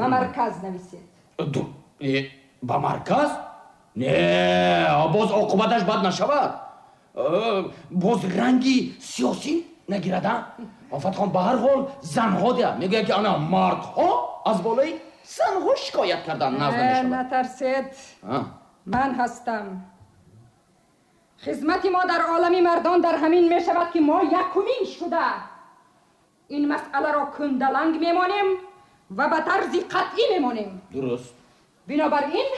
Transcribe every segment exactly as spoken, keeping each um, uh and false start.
Ба марказ нависед. Ба марказ? Не, боз оқибаташ бад нашавад. Боз ранги сиёсӣ нагирад. Офатхон, ба ҳар ҳол занҳо дия мегӯянд, ки ана мардҳо аз болои занҳо шикоят кардан назд намешавад. Натарсед, ман ҳастам. Хизмати мо дар олами мардон дар ҳамин мешавад, ки мо якумин шуда ин масъаларо кундаланг мемонем ва ба тарзи қатъӣ мемонем. Дуруст. Бинобар ин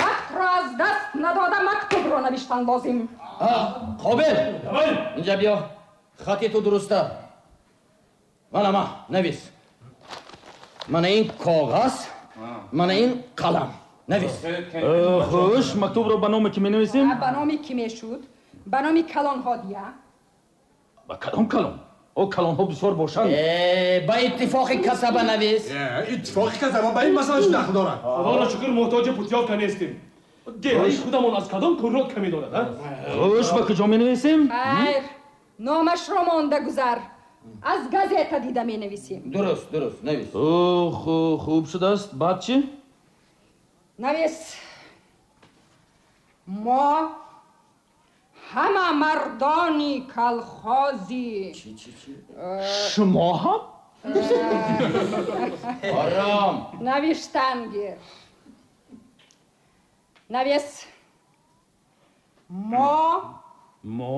вақтро аз даст надода мактубро навиштан лозим. Қобил, инҷа биё, хати ту дуруста. Мана ма навис. Мана ин коғаз, мана ин қалам. Навис. Хуш, мактубро ба номи кӣ менависем? Ба номи кӣ мешуд? Ба номи калонҳо дия. Ба кадом калон? О, калонҳо бисёр бошанд. Ба иттифоқи касаба навис. Иттифоқи касаба ба ин масъала чӣ дахл дорад? Худоро шукр, муҳтоҷи путёвка нестем. Деҳаи худамон аз кадом курорт камӣ дорад? Хуш, ба куҷо менависем? Хайр, номашро монда гузар, аз газета дида менависем. Дуруст, дуруст, навис. Хуб шудааст. Баъд чӣ? Навис: мо ҳама мардони колхози Шумо ҳам? Ором. Навиштан гир. Навис: мо Мо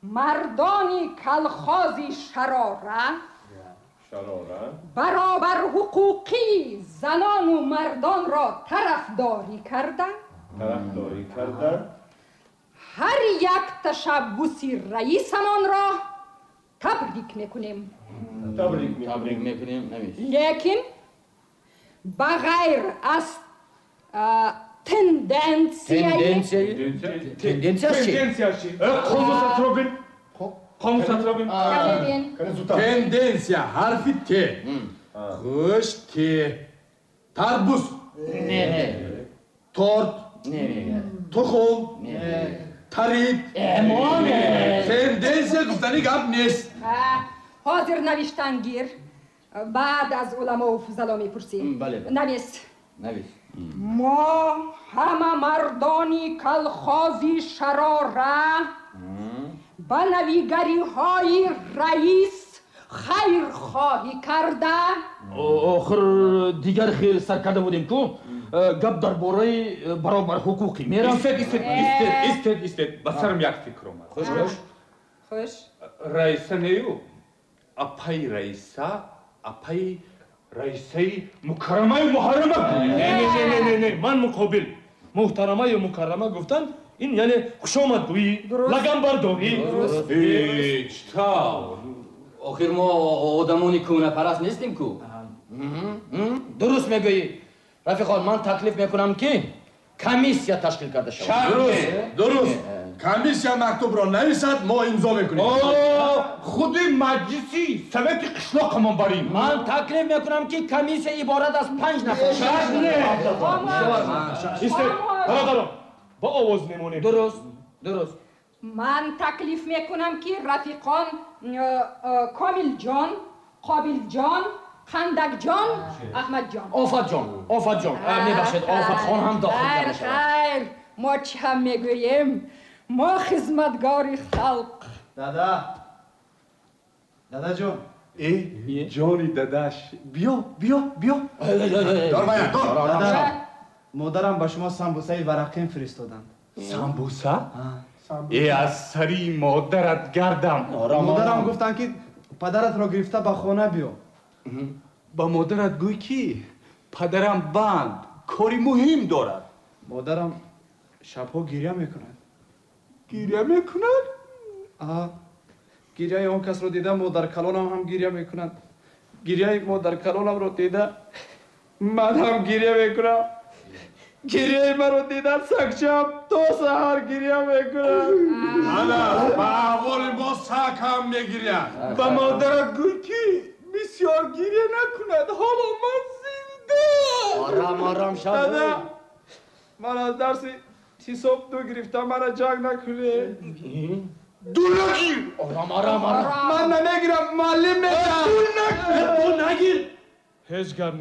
мардони колхози Шарора Шарора баробарҳуқуқии занону мардонро тарафдорӣ карда, тарафдорӣ карда, ҳар як ташаббуси раисамонро табрик мекунем. Табрик. Табрик мекунем, навис. Лекин ба ғайр аз тенденсияи Тенденсия, тенденсия чӣ? Тенденсия чӣ? Қомусатро бин, қомусатро бин. Бин. Тенденсия, ҳарфи Т. Хуш, Т. Тарбуз. Не, не. Торт. Не, не. Тухм. Тарид. Эмоне. Тенденсия гуфтани гап нест. Ҳозир навиштан гир, баъд аз уламову фузало мепурсем. Бале. Навис. Навис. Мо ҳама мардони колхози Шарора ба навигариҳои раис хайрхоҳӣ карда, Охир дигар хел сар карда будем ку, гап дар бораи баробарҳуқуқӣ меравад. Истед, истед, истед, истед, истед, ба сарам як фикр омад. Хуш, хуш. Хуш. Раиса нею, апаи Раиса, апаи Раисаи мукаррамаю муҳаррама. Не, не, не, не, не, ман муқобил. Муҳтарамаю мукаррама гуфтанд, ин яъне хушомадгӯӣ, лаганбардорӣ. Чӣ тавр? Охир мо одамони кӯнапараст нестем ку. Дуруст мегӯӣ, рафиқон. Ман таклиф мекунам, ки комиссия ташкил карда шавад. Дуруст, дуруст. Комиссия мактубро нависад, мо имзо мекунем. Худи маҷлиси совети қишлоқамон барем. Ман таклиф мекунам, ки комиссия иборат аз панҷ нафар. Истед, бародарон, ба овоз мемонем. Дуруст, дуруст. Ман таклиф мекунам, ки рафиқон э, э, Комилҷон, Қобилҷон, Қандакҷон, Аҳмадҷон. Офатҷон, Офатҷон, мебахшед, Офатхон ҳам дохил Хайр. карда шавад. Хайр, мо чӣ ҳам мегӯем? Мо хизматгори халқ. Дада, дадаҷон. Э, ҷони дадаш, биё, биё, биё. Дор, вая, дор. Дада, модарам ба шумо самбусаи варақин фиристоданд. Самбуса? Э, аз сари модарат гардам. Модарам гуфтанд, ки падаратро гирифта ба хона биё. Ба модарат гӯй, ки падарам банд, кори муҳим дорад. Модарам шабҳо гиря мекунад. Гиря мекунад? А, гиряи он касро дида, модаркалонам ҳам гиря мекунад. Гиряи модаркалонамро дида, ман ҳам гиря мекунам. Гиряи маро дида, сагчам то саҳар гиря мекунад. Ана ба аҳволи мо саг ҳам мегиряд. Ба модарат гӯй, ки бисёр гиря накунад, ҳоло ман зинда. Ором, ором шав. Дада, ман аз дарси ҳисоб ду гирифтам, мана ҷанг накунед. Ду нагир. Ором, ором, ором. Ман намегирам, муаллим мегирад. Ду нагир, ҳеҷ гап не.